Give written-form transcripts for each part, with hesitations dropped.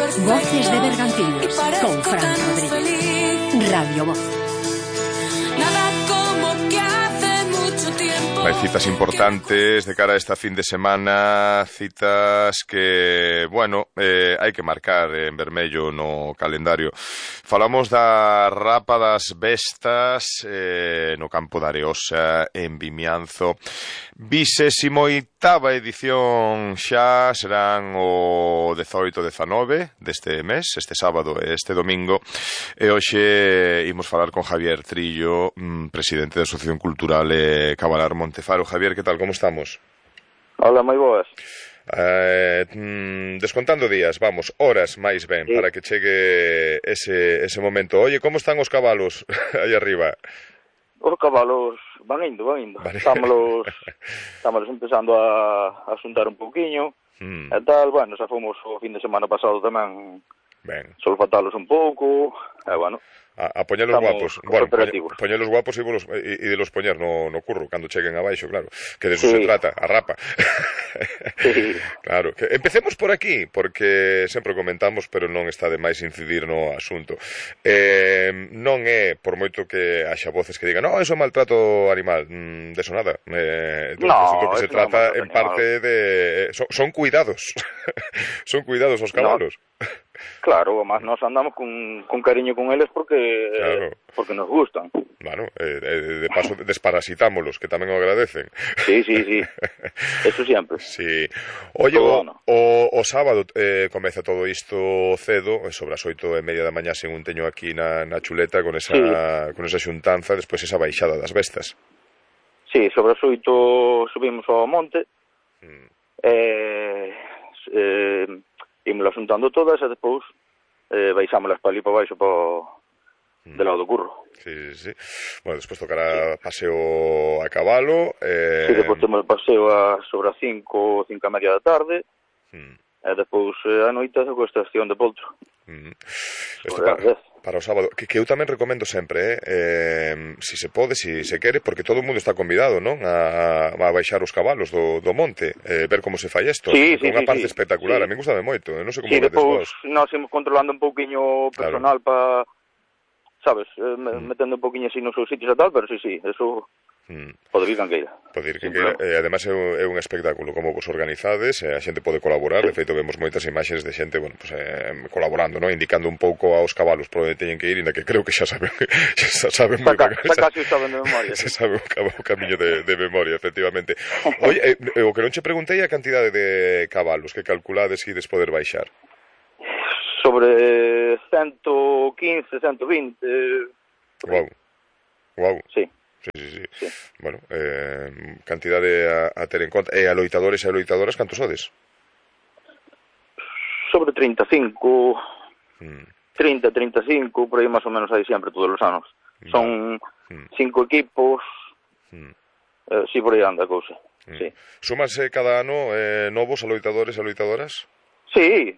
Voces de Bergantiños con Fran Rodríguez. Radio Voz. Nada como que hace mucho tiempo. Hai citas importantes de cara a esta fin de semana, citas que, bueno, hai que marcar en vermello no calendario. Falamos da Rapa das Bestas no campo da Areosa, en Vimianzo. 28ª edición xa, serán o 18-19 deste mes, este sábado e este domingo, e hoxe imos falar con Javier Trillo, presidente da Asociación Cultural Cabalar Montefaro. Javier, que tal, como estamos? Hola, moi boas. Descontando días, vamos, horas máis ben, sí, para que chegue ese momento. Oye, como están os cabalos aí arriba? Os cabalos van indo. Vale. Estamos empezando a xuntar un pouquiño, e tal, bueno, xa fomos o fin de semana pasado tamén, ben, solfatalos un pouco, e bueno, a poñelos guapos. Bueno, poñelos guapos e de los poñer no curro cando cheguen abaixo, claro, que de eso se trata, a rapa. Sí. Claro, que empecemos por aquí, porque sempre comentamos, pero non está de máis incidir no asunto. Non é, por moito que haxa voces que digan, no, eso é maltrato animal, deso nada. No, asunto que se trata en parte de... Son cuidados. Son cuidados os cabalos. Claro, además nos andamos con cariño con eles porque, claro, porque nos gustan. Bueno, de paso desparasitámolos, que tamén o agradecen. Sí, eso sempre. Sí. Oye, o sábado comeza todo isto cedo, sobre as 8:30 da mañá, según teño aquí na chuleta, con esa xuntanza, despois esa baixada das bestas. Sí, sobre as 8 subimos ao monte, ímolas xuntando todas e depois baixámolas para ali para baixo del lado do curro. Sí. Bueno, despois tocará paseo a cabalo. Sí, depois temos o paseo sobre as 5:30 da tarde. E depois a noite a estación de Poltro. Isto para o sábado, que eu tamén recomendo sempre, si se pode, si se quere, porque todo o mundo está convidado, non? A baixar os cabalos do monte, ver como se fai isto. Sí, unha parte espectacular, a mí gustame moito, non sei como vedes vos. Sí, depois nós imos controlando un pouquiño personal, claro, para, sabes, metendo un pouquiño así nos seus sitios e tal, pero sí, eso... Pode vir canqueira. Ademais é un espectáculo como vos organizades, a xente pode colaborar, de feito vemos moitas imaxes de xente, bueno, pues, colaborando, ¿no? Indicando un pouco aos cabalos por onde teñen que ir, inda que creo que xa saben moito. Casi saben de memoria. Se sabe o camiño de memoria, efectivamente. Oye, o que non che preguntei a cantidade de cabalos que calculades que ides poder baixar. Sobre 115, 120... Wow. Sí. Sí. Bueno, cantidade a ter en conta. E a loitadores e a loitadoras, cantos sodes? Sobre 35, 30, 35, por aí máis ou menos aí sempre, todos os anos. Son 5 equipos, sí, por aí anda a cousa. Sí. Sumas cada ano novos a loitadores e a loitadoras? Sí,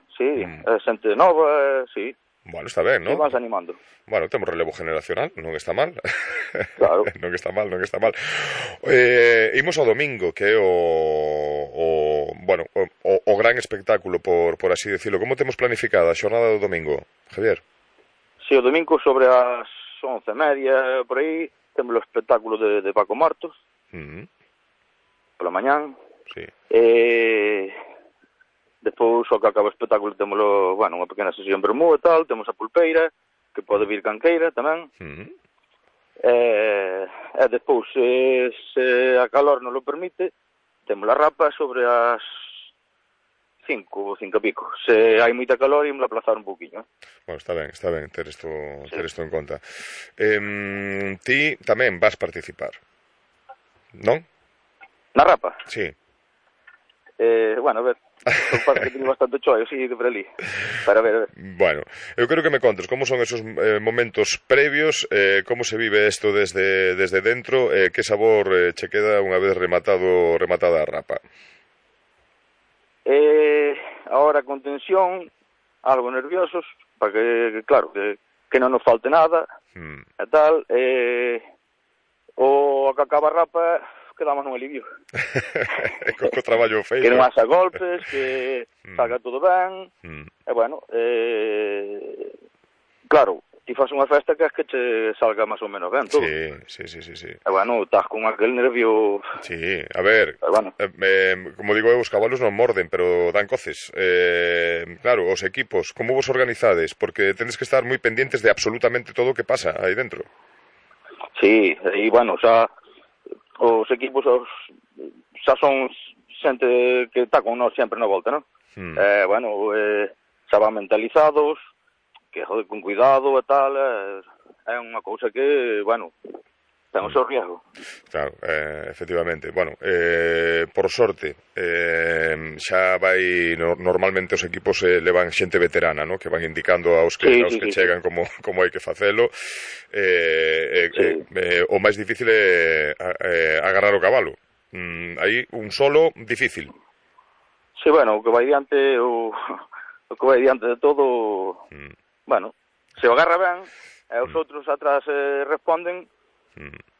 xente nova, sí. Bueno, está ben, non? Se vas animando. Bueno, temos relevo generacional, non está mal. Claro. non está mal. Imos ao domingo, que é o gran espectáculo, por así decirlo. Como temos planificada a xornada do domingo, Javier? Sí, o domingo sobre as 11:30, por aí, temos o espectáculo de Paco Martos, pola mañán. Sí. Despois, ao que acaba o espectáculo, temos unha pequena sesión vermú e tal, temos a pulpeira, que pode vir canqueira tamén. E despois, se a calor non lo permite, temos a rapa sobre as 5 e pico. Se hai moita calor, ímos a aplazar un pouquiño. Bueno, está ben ter isto en conta. Ti tamén vas participar, non? Na rapa? Sí. Bueno, a ver, son parte que teño bastante choio, sí, por ali. Para ver. Bueno, eu quero que me contes como son esos momentos previos, como se vive isto desde dentro, que sabor che queda unha vez rematada a rapa. Ahora con tensión, algo nerviosos, para que, claro, que non nos falte nada, e tal. O que acaba a rapa, quedamos nun alivio. Co traballo feito. Que non haxa golpes, que salga todo ben, e bueno, claro, ti faz unha festa que é que te salga máis ou menos ben todo. Sí. E bueno, estás con aquel nervio... Sí, a ver, bueno. Como digo eu, os cabalos non morden, pero dan coces. Claro, os equipos, como vos organizades? Porque tenes que estar moi pendientes de absolutamente todo o que pasa aí dentro. Sí, e bueno, xa os equipos xa son xente que está con nós sempre na volta, non? Bueno, xa van mentalizados, que joder, con cuidado e tal, é unha cousa que, bueno, ten o seu riesgo. Claro, efectivamente. Bueno, por sorte, xa vai, normalmente os equipos levan xente veterana, ¿no? Que van indicando aos que chegan como hai que facelo. O máis difícil é agarrar o cabalo. Aí un solo difícil. Sí, bueno, o que vai diante de todo, bueno, se o agarra ben e os outros atrás responden,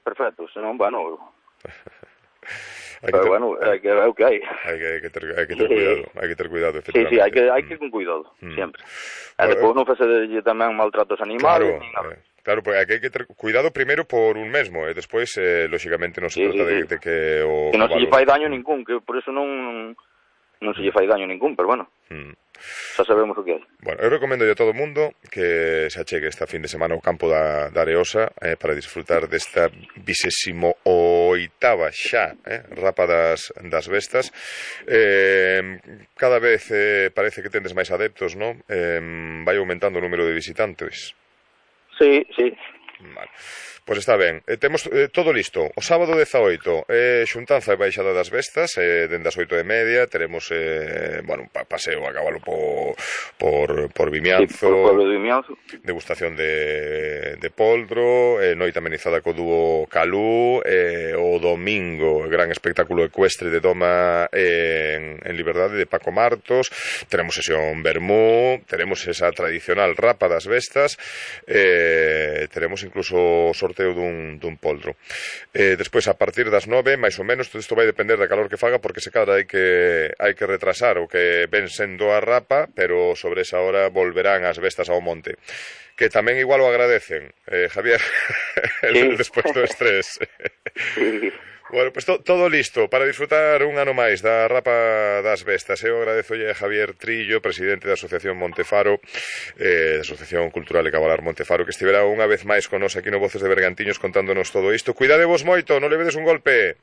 perfecto, senón, bueno, pero bueno, é o que hai. Hai que ter cuidado, efectivamente. Sí, hai que ir con cuidado, sempre. E depois non facelle tamén maltratos animales. Claro, porque hai que ter cuidado primeiro por un mesmo, e despois, lóxicamente, non se trata de que o... Que non se lle fai daño ningún, que por eso non se lle fai daño ningún, pero bueno, xa sabemos o que hai. Bueno, eu recomendo a todo o mundo que se achegue esta fin de semana ao campo da Areosa para disfrutar desta 28ª xa Rapa das Bestas. Cada vez parece que tendes máis adeptos, non? Vai aumentando o número de visitantes. Sí. Vale. Pois está ben, temos todo listo. O sábado 18, xuntanza e baixada das bestas, dende as 8:30, teremos, un paseo a cabalo por Vimianzo, por pueblo de Vimianzo, degustación de poldro, noite amenizada co dúo Calú, o domingo, gran espectáculo ecuestre de doma en Liberdade de Paco Martos, teremos sesión vermú, teremos esa tradicional Rapa das Bestas, teremos incluso sorteo dun poldro. Despois, a partir das 9, máis ou menos, todo isto vai depender da calor que faga, porque se cadra hai que retrasar o que ven sendo a Rapa, pero sobre esa hora volverán as bestas ao monte. Que tamén igual o agradecen, Javier, despois do estrés. Bueno, pues todo listo para disfrutar un ano máis da Rapa das Bestas. Eu agradezolle a Javier Trillo, presidente da Asociación Montefaro, da Asociación Cultural e Cabalar Montefaro, que estivera unha vez máis con nos aquí no Voces de Bergantiños contándonos todo isto. Cuidadevos moito, non levedes un golpe.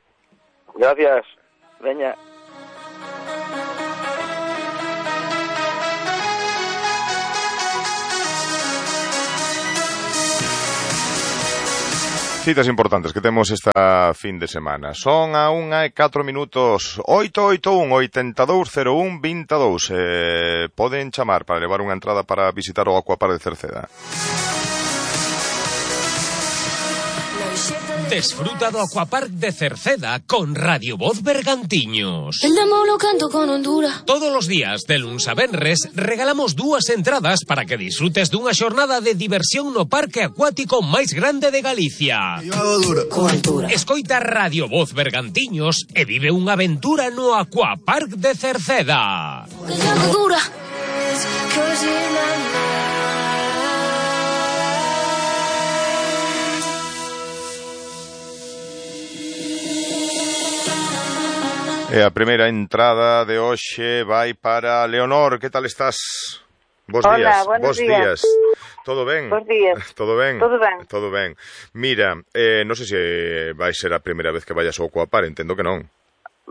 Gracias. Veña. Citas importantes que temos esta fin de semana. Son a 1:04, 881-8201-22. Poden chamar para levar unha entrada para visitar o Aquapark de Cerceda. Desfruta do Aquapark de Cerceda con Radio Voz Bergantiños. El demo lo canto con Honduras. Todos os días, de luns a venres, regalamos 2 entradas para que disfrutes dunha xornada de diversión no parque acuático máis grande de Galicia. Con altura. Escoita Radio Voz Bergantiños e vive unha aventura no Aquapark de Cerceda. Que ya dura. E a primeira entrada de hoxe vai para Leonor. Que tal estás? Hola, buenos días. Todo ben? Bos días. Todo ben? Todo ben. Todo ben. Mira, non sei se vai ser a primeira vez que vayas ao Aquapark, entendo que non.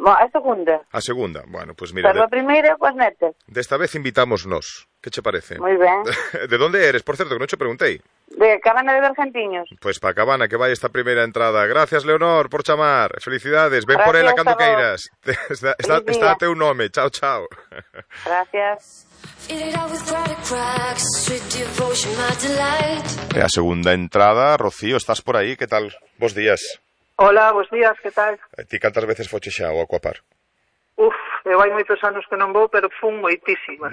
A segunda. A segunda, bueno, pues mira... Pero a primeira, coas netas. Desta vez invitamos nos. Que che parece? Moi ben. De onde eres, por certo, que non che preguntei? De Cabana de Bergantiños. Pois pa Cabana, que vai esta primeira entrada. Gracias, Leonor, por chamar. Felicidades. Ven por ela cando queiras. Está a teu nome. Chao, chao. Gracias. E a segunda entrada, Rocío, estás por aí? Que tal? Bos días. Hola, bos días, que tal? Ti cantas veces foche xa ao Aquapark? Eu hai moitos anos que non vou, pero fun moitísimas.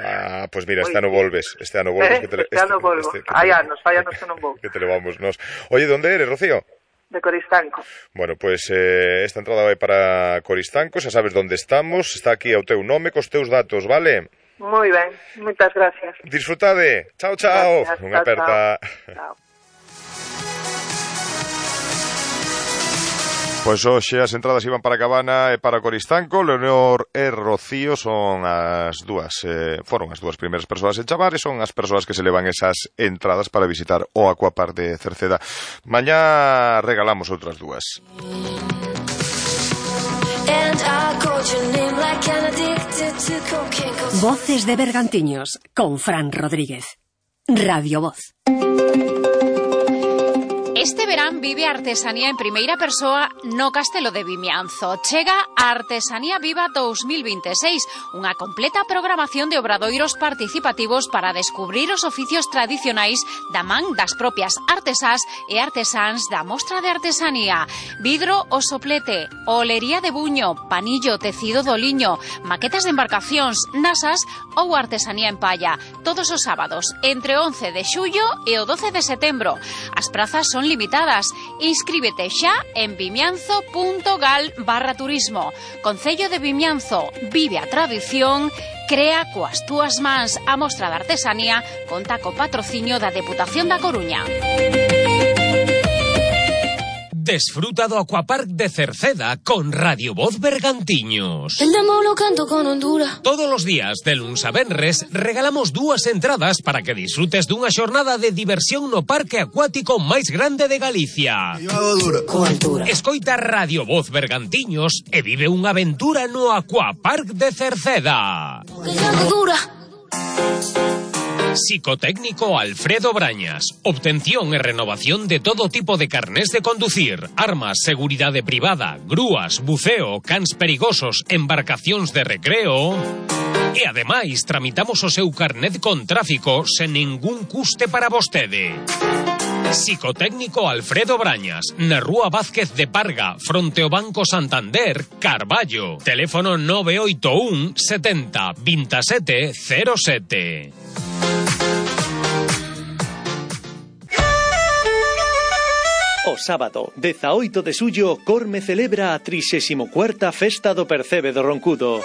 Pois mira, este ano volves. Este ano volves. Este ano volvo. Hai anos que non vou. Que te levamos nos. Oye, de onde eres, Rocío? de Coristanco. Bueno, pois esta entrada vai para Coristanco, xa sabes onde estamos, está aquí ao teu nome, cos teus datos, vale? Moi ben, moitas gracias. Disfrutade, chao, chao. Unha aperta. Chao. Pois hoxe as entradas iban para Cabana e para Coristanco. Leonor e Rocío son foron as dúas primeiras persoas en chamar e son as persoas que se levan esas entradas para visitar o Aquapark de Cerceda. Mañá regalamos outras dúas. Voces de Bergantiños con Fran Rodríguez. Radio Voz. Este verán vive a artesanía en primeira persoa no Castelo de Vimianzo. Chega a Artesanía Viva 2026, unha completa programación de obradoiros participativos para descubrir os oficios tradicionais da man das propias artesás e artesáns da Mostra de Artesanía. Vidro o soplete, olería de buño, panillo, tecido do liño, maquetas de embarcacións, nasas ou artesanía en palla. Todos os sábados, entre 11 de xullo e o 12 de setembro. As prazas son limitadas. Inscríbete xa en vimianzo.gal/turismo. Concello de Vimianzo, vive a tradición, crea coas túas mans. A Mostra de Artesanía conta co patrocinio da Deputación da Coruña. Desfruta do Aquapark de Cerceda con Radio Voz Bergantiños. El demo lo canto con Honduras. Todos os días, de luns a venres, regalamos 2 entradas para que disfrutes dunha xornada de diversión no parque acuático máis grande de Galicia. Escoita Radio Voz Bergantiños e vive unha aventura no Aquapark de Cerceda. Psicotécnico Alfredo Brañas. Obtención e renovación de todo tipo de carnés de conducir, armas, seguridade privada, grúas, buceo, cans perigosos, embarcacións de recreo. E ademais tramitamos o seu carnet con tráfico sen ningún custe para vostede. Psicotécnico Alfredo Brañas, na Rúa Vázquez de Parga, fronte ao Banco Santander, Carballo. Teléfono 981 70 27 07. O sábado, 18 de xullo, Corme celebra a 34ª Festa do Percebe do Roncudo.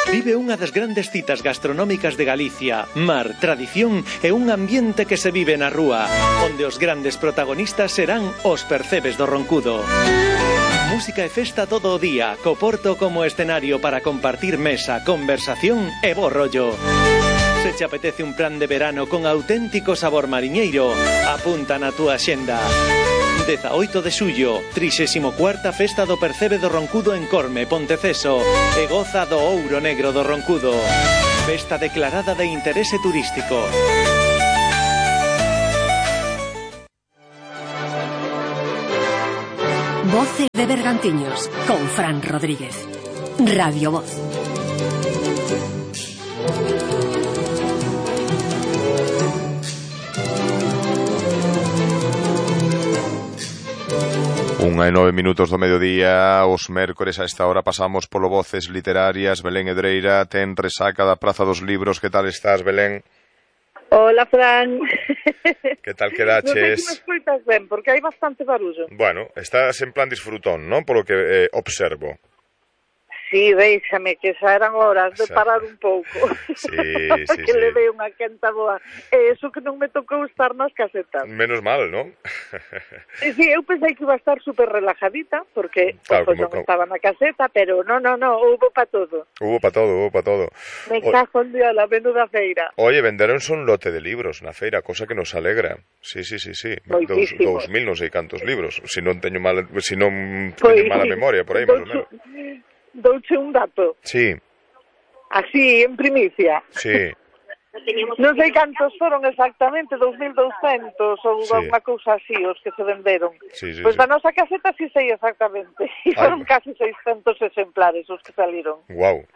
Vive unha das grandes citas gastronómicas de Galicia, mar, tradición e un ambiente que se vive na rúa, onde os grandes protagonistas serán os percebes do Roncudo. Música e festa todo o día, co Porto como escenario para compartir mesa, conversación e bo rollo. Se te apetece un plan de verano con auténtico sabor mariñeiro, apunta na túa xenda. 18 de xullo, 34ª Festa do Percebe do Roncudo en Corme, Ponteceso, e goza do ouro negro do Roncudo. Festa declarada de interese turístico. Voces de Bergantiños con Fran Rodríguez. Radio Voz. Unha e 9 minutos do mediodía, os mércores a esta hora pasamos polo Voces Literarias. Belén Edreira ten resaca da Praza dos Libros. Que tal estás, Belén? Hola, Fran. Que tal quedaches? Non sei se me escoitas ben, porque hai bastante barullo. Bueno, estás en plan disfrutón, non? Polo que observo. Sí, déixame, que xa eran horas de parar un pouco. Sí, que le dei unha quenta boa. E eso que non me tocou estar nas casetas. Menos mal, non? Sí, eu pensei que iba a estar super relajadita, porque claro, pues, non estaba na caseta, pero no, houbo pa todo. Houbo pa todo. Me cajo en día la menuda feira. Oye, venderonse un lote de libros na feira, cosa que nos alegra. Sí. 2.000, non sei cantos libros. Si non teño mala memoria, por aí, máis ou menos. Douche un dato. Sí. Así, en primicia. Sí. Non sei cantos foron exactamente, 2.200 ou unha cousa así os que se venderon. Pois da nosa caseta sí sei exactamente. E foron casi 600 exemplares os que saliron. Guau.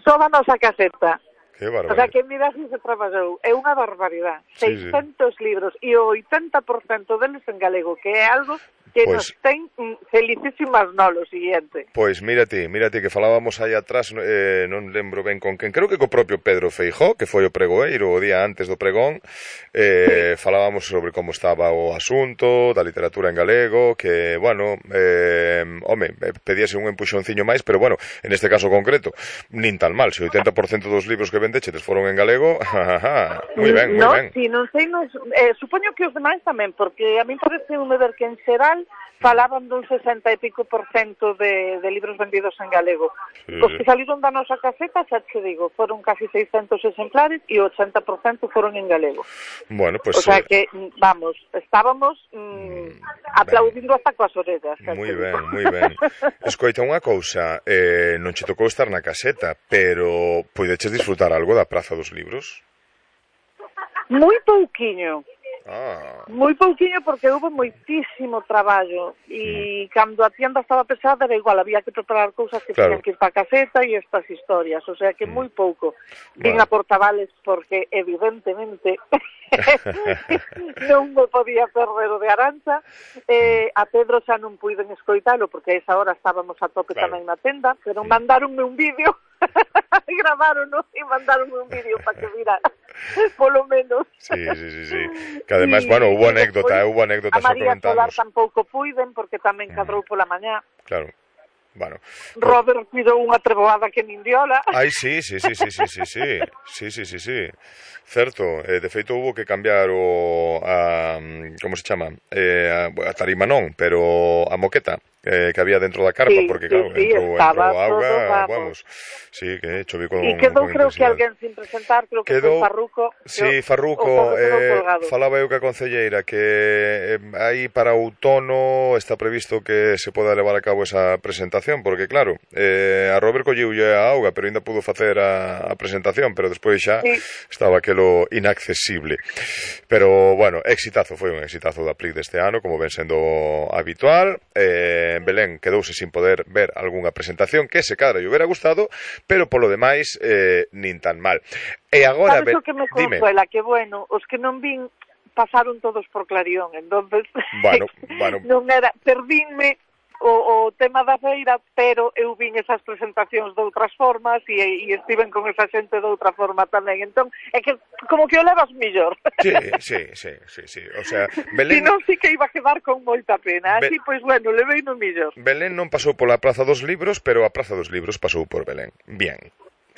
Só da nosa caseta. Que barbaridade. O sea, que mira si se traballou. É unha barbaridade. 600 libros e o 80% deles en galego, que é algo que nos ten felicísimas lo siguiente. Pois mírate que falábamos aí atrás, non lembro ben con quen, creo que co propio Pedro Feijóo, que foi o pregoeiro o día antes do pregón, falábamos sobre como estaba o asunto da literatura en galego, que, bueno, pedíase un empuxonciño máis, pero, bueno, en este caso concreto, nin tan mal, se o 80% dos libros que vendechetes foron en galego, moi ben, moi ben. Si, non sei, supoño que os demais tamén, porque a mí parece un ver que en xeral falaban dun 60 e pico % de libros vendidos en galego. Sí. Os que saliron da nosa caseta, xa te digo, foron casi 600 exemplares e o 80% foron en galego. Bueno, pues... O sea que, vamos, estábamos aplaudindo hasta coas orellas. Moi ben, moi ben. Escoita, unha cousa, non che tocou estar na caseta, pero poideches disfrutar algo da Praza dos Libros? Moi pouquiño. Moi pouquiño porque houve moitísimo traballo e cando a tienda estaba pesada era igual, había que preparar cousas que tenían que ir para a caseta e estas historias, o sea que moi pouco. Vin a Portavales porque evidentemente non me podía perder o de Arancha, a Pedro xa non puiden escoitalo porque a esa hora estábamos a tope tamén na tenda, pero mandaronme un vídeo gravarono e mandaronme un vídeo para que vira polo menos. Sí. Que ademais, bueno, hubo anécdota a María Solar tampouco puiden porque tamén cadrou pola mañá. Claro. Bueno. Robert cuidou unha treboada que nin diola. Ai, sí. Certo, de feito hubo que cambiar como se chama? A tarima non, pero a moqueta que había dentro da carpa, porque claro, entrou auga, vamos. Sí, que choví con e quedou, creo que alguén sin presentar, creo que foi Farruco. Sí, Farruco, falaba eu que a concelleira que aí para outono está previsto que se poda levar a cabo esa presentación, porque claro, a Robert colliulle a auga, pero ainda pudo facer a presentación, pero despois xa estaba aquelo inaccesible. Pero, bueno, foi un exitazo da PRIC deste ano, como ven sendo habitual. Belén quedouse sin poder ver algunha presentación que se cadra lle hubiera gustado, pero polo demais nin tan mal. E agora, sabes o que me consuela? Que bueno, os que non vin pasaron todos por Clarión, entonces bueno. non era, perdínme o tema da feira, pero eu vin esas presentacións de outras formas e estiven con esa xente de outra forma tamén, entón é que como que o levas mellor. Sí, o sea, Belén... Si non, sí que iba a quedar con moita pena, así, pois, bueno, levei no mellor. Belén non pasou pola Praza dos Libros, pero a Praza dos Libros pasou por Belén. Bien,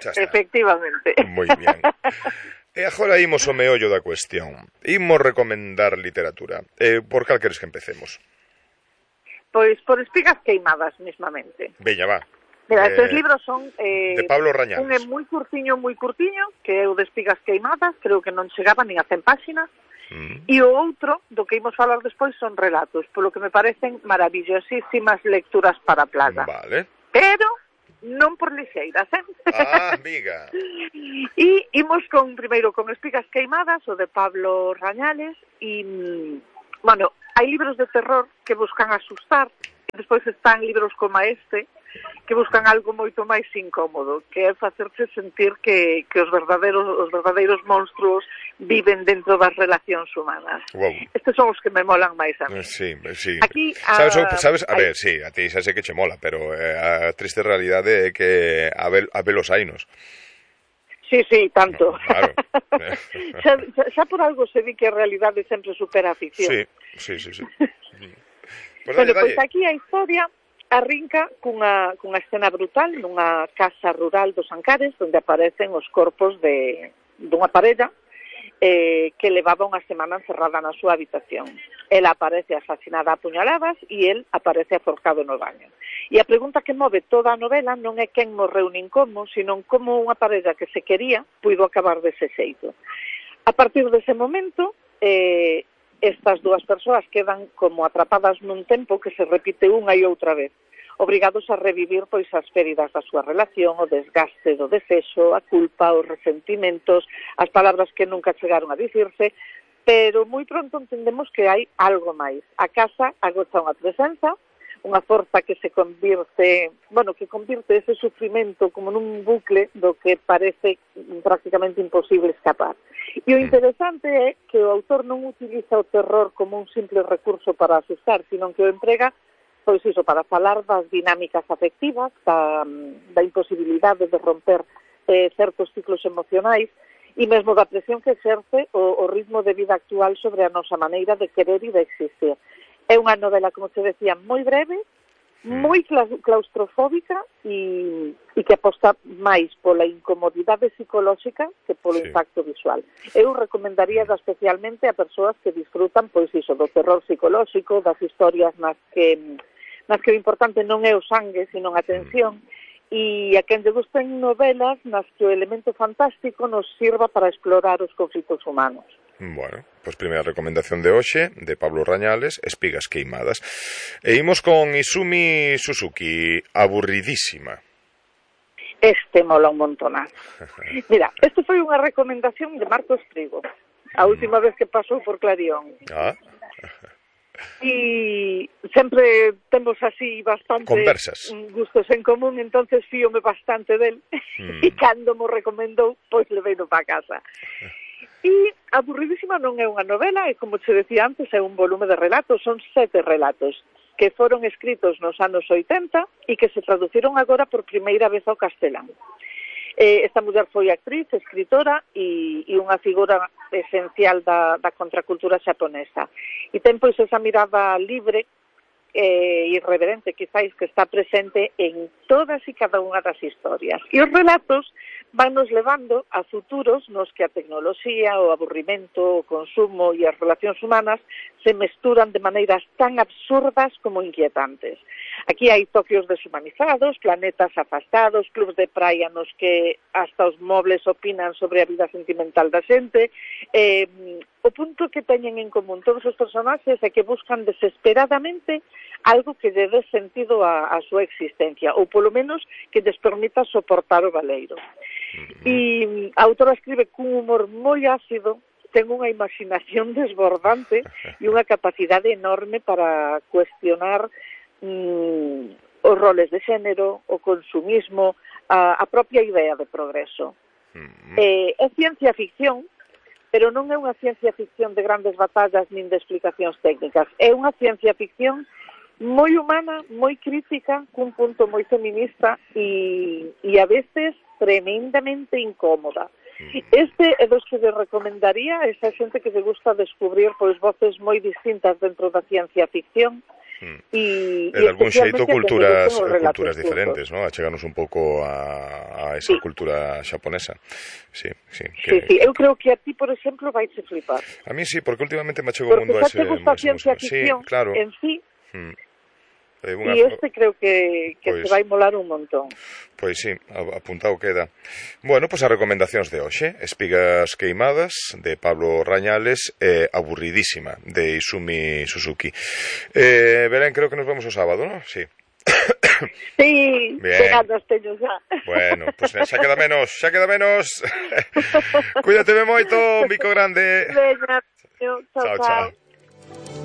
xa está. Efectivamente. Moi bien. E agora imos ao meollo da cuestión. Imos recomendar literatura. Por cal queres que empecemos? Pois por Espigas queimadas, mismamente. Veña, va. Mira, estes libros son... de Pablo Rañales. Un é moi curtiño, que é o de Espigas queimadas, creo que non chegaba nin a 100 páxinas, e o outro, do que imos falar despois, son relatos, polo que me parecen maravillosísimas lecturas para a plaza. Vale. Pero non por lixeiras, amiga. E imos primeiro con Espigas queimadas, o de Pablo Rañales, e, bueno, hai libros de terror que buscan asustar, e despois están libros como este, que buscan algo moito máis incómodo, que é facerse sentir que os verdadeiros monstruos viven dentro das relacións humanas. Wow. Estes son os que me molan máis a mí. Sí. Aquí, sabes, a ver, sí, a ti xa sei que che mola, pero a triste realidade é que a velos hainos. Sí, tanto. Claro. xa por algo se di que a realidade sempre supera a ficción. Sí. Bueno, pois aquí a historia arrinca cunha escena brutal nunha casa rural dos Ancares, onde aparecen os corpos dunha parella que levaba unha semana encerrada na súa habitación. Ela aparece asasinada a puñaladas e el aparece aforcado no baño. E a pregunta que move toda a novela non é quen morreu nin como, sino como unha parella que se quería puido acabar dese xeito. A partir dese momento, estas dúas persoas quedan como atrapadas nun tempo que se repite unha e outra vez, obrigados a revivir pois as feridas da súa relación, o desgaste do desexo, a culpa, os resentimentos, as palabras que nunca chegaron a dicirse, pero moi pronto entendemos que hai algo máis. A casa agocha unha presenza, unha forza que se convirte ese sufrimento como nun bucle do que parece prácticamente imposible escapar. E o interesante é que o autor non utiliza o terror como un simple recurso para asustar, sino que o emprega pois iso, para falar das dinámicas afectivas, da imposibilidade de romper certos ciclos emocionais e mesmo da presión que exerce o ritmo de vida actual sobre a nosa maneira de querer e de existir. É unha novela, como se decía, moi breve, moi claustrofóbica e que aposta máis pola incomodidade psicolóxica que polo impacto visual. Eu recomendaría especialmente a persoas que disfrutan, pois iso, do terror psicolóxico, das historias nas que o importante non é o sangue, sino a tensión, e a quen lle gusten novelas nas que o elemento fantástico nos sirva para explorar os conflitos humanos. Bueno, pois primeira recomendación de hoxe, de Pablo Rañales, Espigas queimadas. E imos con Izumi Suzuki, Aburridísima. Este mola un montonazo. Mira, este foi unha recomendación de Marcos Trigo, a última vez que pasou por Clarión. E sempre temos así bastante conversas, gustos en común, entonces fíome bastante del e cando mo recomendou, pois leveino para casa. E Aburridísima non é unha novela, e como te decía antes, é un volume de relatos, son 7 relatos que foron escritos nos anos 80 e que se traduciron agora por primeira vez ao castelán. Esta muller foi actriz, escritora e unha figura esencial da contracultura xaponesa. E ten pois esa mirada libre e irreverente, quizáis, que está presente en todas e cada unha das historias. E os relatos vannos levando a futuros nos que a tecnoloxía, o aburrimento, o consumo e as relacións humanas se mesturan de maneiras tan absurdas como inquietantes. Aquí hai toquios deshumanizados, planetas afastados, clubs de praia nos que hasta os mobles opinan sobre a vida sentimental da xente. O punto que teñen en común todos os personaxes é que buscan desesperadamente algo que lle dé sentido a súa existencia, ou polo menos que lles permita soportar o baleiro. E a autora escribe cun humor moi ácido, ten unha imaginación desbordante e unha capacidade enorme para cuestionar os roles de xénero, o consumismo, a propia idea de progreso. É ciencia ficción, pero non é unha ciencia ficción de grandes batallas nin de explicacións técnicas. É unha ciencia ficción moi humana, moi crítica, cun punto moi feminista e a veces tremendamente incómoda. Este é dos que le recomendaría a esa xente que se gusta descubrir pois voces moi distintas dentro da ciencia ficción. E de algún xeito culturas diferentes, ¿no? Achegarnos un pouco a esa cultura xaponesa. Sí, eu creo que a ti, por exemplo, vaiche flipar. A mí sí, porque últimamente me achego o mundo a ese... Porque xa te gusta a ciencia ficción en sí... E este creo que te vai molar un montón. Pois sí, apuntado queda. Bueno, pois as recomendacións de hoxe: Espigas queimadas, de Pablo Rañales, e Aburridísima, de Izumi Suzuki. Belén, creo que nos vemos o sábado, ¿no? Sí. Sí, pegadas teño xa. Bueno, pois xa queda menos. Cuídateme moito, un bico grande. Veña, chao.